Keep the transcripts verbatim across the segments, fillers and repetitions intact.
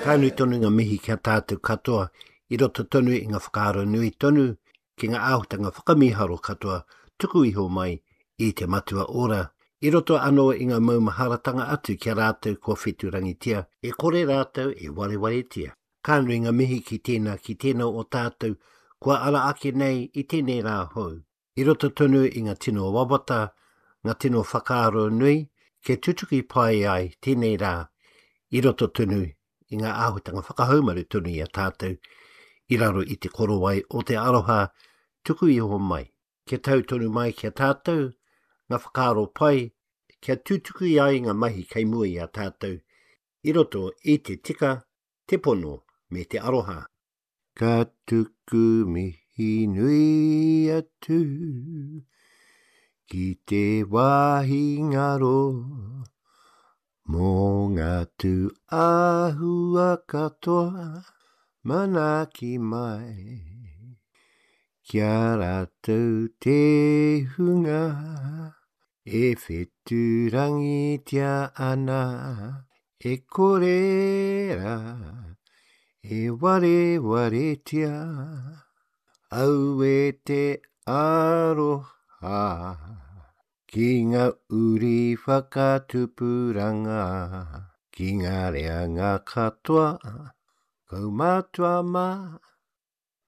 Ka nui tonu ngā mihi ki a tātou katoa i roto tonu i ngā whakaaro nui tonu ki ngā āhutanga whakamīharo katoa tuku iho mai i te Matua Ora. I roto anō i ngā maumaharatanga atu ki a rātou kua wheturangitia, e kore rātou e warewaretia. Ka nui ngā mihi ki tēnā ki tēnā o tātou kua ara ake nei i tēnei rā hou. I roto tonu i ngā tino wawata, ngā tino whakaaro nui, kia tutuki pai ai tēnei rā i roto tonu i ngā āhutanga whakahaumaru tonu i a tātou i raro i te korowai o te aroha tuku iho mai. Kia tau tonu mai ki a tātou, ngā whakaaro pai, kia tutuki ai ngā mahi kei mua i a tātou i roto i te tika, te pono me te aroha. Ka tuku mihi nui atu ki te wāhi ngaro mō ngā tūāhua katoa manaaki mai. Kia rātou te hunga e wheturangitia ana e kore rā e warewaretia. Aue te aroha ki ngā uri whakatupuranga, ki ngā reanga katoa, kaumātua mā,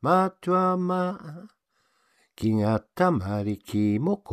mātua mā, ki ngā tamariki mokopuna.